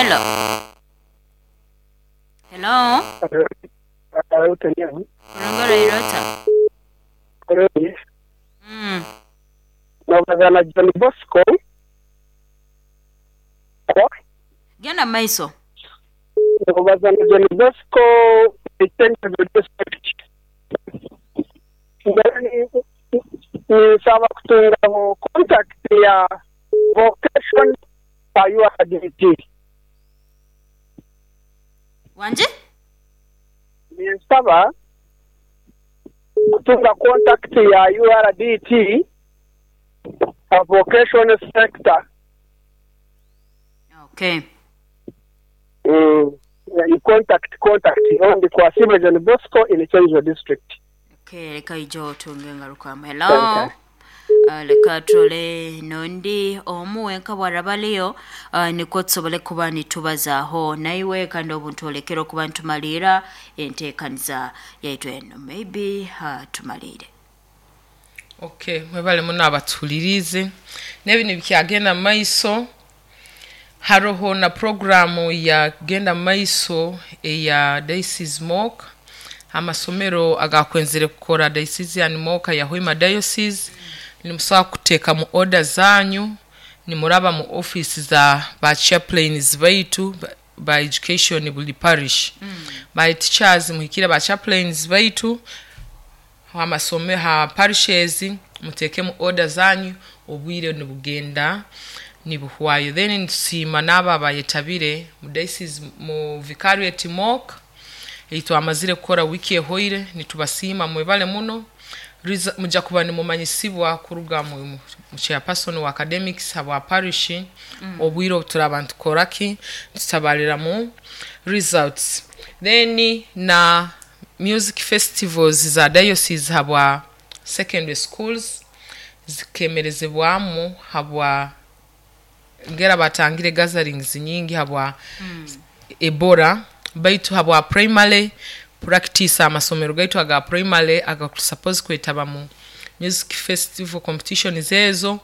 Hello. Hello. Kurongora irota. Nobaza na John Bosco. Genda maiso. Nobaza na John Bosco Itengezo district. Ninsaba kutungaho contact ya vocation ya URDT. Wanje? Ninsaba kutunga contact ya URDT a vocation sector. Okay. Contact ndi kwa Sibe John Bosco in Chenjo district. Okay, leka ijo tunge ngarukamu. Hello. Leka turole nondi omu wenka bwarabaliyo nikwo tusobole kuba nitubazaaho naiwe kandi obu ntwolekera okuba ntumaliira enteekaniza yaitu eno maybe tumalire. Okay, mwebale muno abatuhuliriize n'ebintu bikyagenda mu maiso. Haroho na programu ya genda mu maiso eya diocese mock, amasomero agakwenzere kukora diocesan mock ya Hoima Diocese. Nimusobola kuteeka mu order zanyu nimuraba mu office za ba chaplains baitu ba education buli parish. Ba teachers muhikire ba chaplains baitu amasomero ha parishes, muteekemu order zanyu, obwire nibugenda nibuhwayo. Then nitusiima n'abo abayetabire mu diocese mu vicariate mock eitwamazire kukora wiki ehoire. Nitubasiima, mwebale muno. Mujja kuba nimumanyisibwa kuruga mu chairperson wa academics habwa parish obwire obu turaba nitukoraki tutabalira mu results. Then na music festivals za diocese habwa secondary schools zikemerezebwamu habwa ngera batangire gatherings nyingi habwa Ebola, baitu habwa primary practice amasomero gaitu aga primary agakusuppose kwetaba mu music festival competition ezo,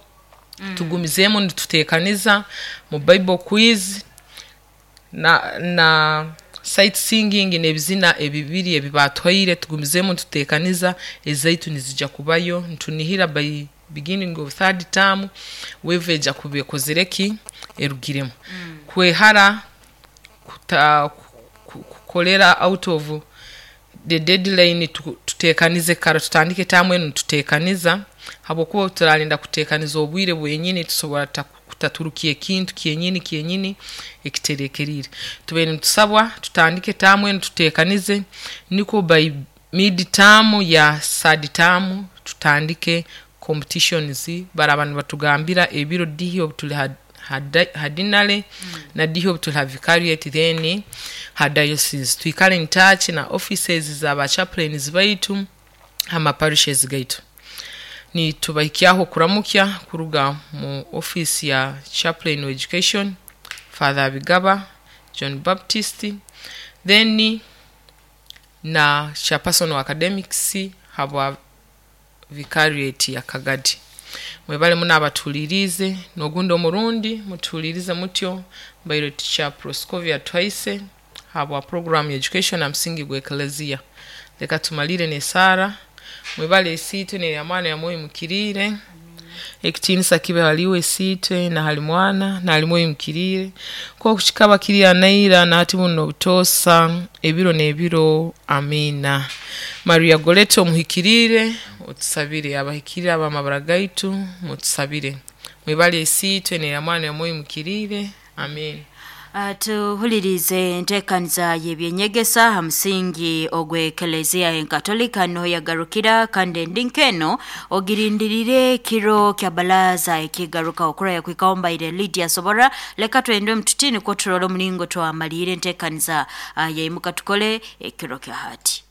tugumizeemu nituteekaniza mu Bible quiz na sight singing n'ebizina ebibiri ebibatwaire. Tugumizeemu nituteekaniza, ezaitu nizija kubayo. Ntunihira by beginning of third term wave eja kuba ekozire ki erugiremu kwehara kukolera out of the deadline. Tuteekanize kara, tutandike tamu enu nituteekaniza, habwokuba turalinda kuteekaniza obwire bwenyini tusobora kutaturukia ekintu kyenyini kyenyini ekiterekerire. Tubaire nitusabwa tutandike tamu enu tuteekanize, nikwo by mid term ya third term tutandike competitions. Baraba nibatugambira ebiro dihi obu tuli ha deanery na dihi obu tuli ha vicariate, then ha diocese. Twikale in touch na offices za ba chaplains baitu ama parishes gaitu. Nitubahikyaho kuramukya kuruga mu office ya chaplain of education, Father Bigaba John Baptist, then na chairperson wa academics habwa vicariate ya Kagadi. Mwebale muno abatulirize, n'ogundi omurundi mutulirize mutyo. Mbaire teacher Proscovia Twaise habwa program ya education na msingi gwa eklezia. Leka tumalire n'esaara. Mwebale esiitwe nerya mwana ya mwoyo mukiriire. Ekitiinisa kibe haliwe esiitwe na hali mwana na hali mwoyo mukiriire, nk'oku kikaba kiri anaira nahati buno obutoosa ebiro n'ebiro. Amiina. Maria Goretti omuhikiriire, otusabire. Abahikiriire ab'amabara gaitu, mutusabire. Mwebale esiitwe nerya mwana ya mwoyo mukiriire. Amiina. Tuhulirize enteekaniza y'ebyenyegesa ha musingi ogw'ekelezia enkatolika niho yagarukira, kandi endi nk'eno ogirindirire kiro kya balaza ekigaruka okuraya kwikaho. Mbaire Lydia Sobora. Leka twende mututini nikwo turole omulingo twamaliire enteekaniza yaimuka tukole ekiro kya hati.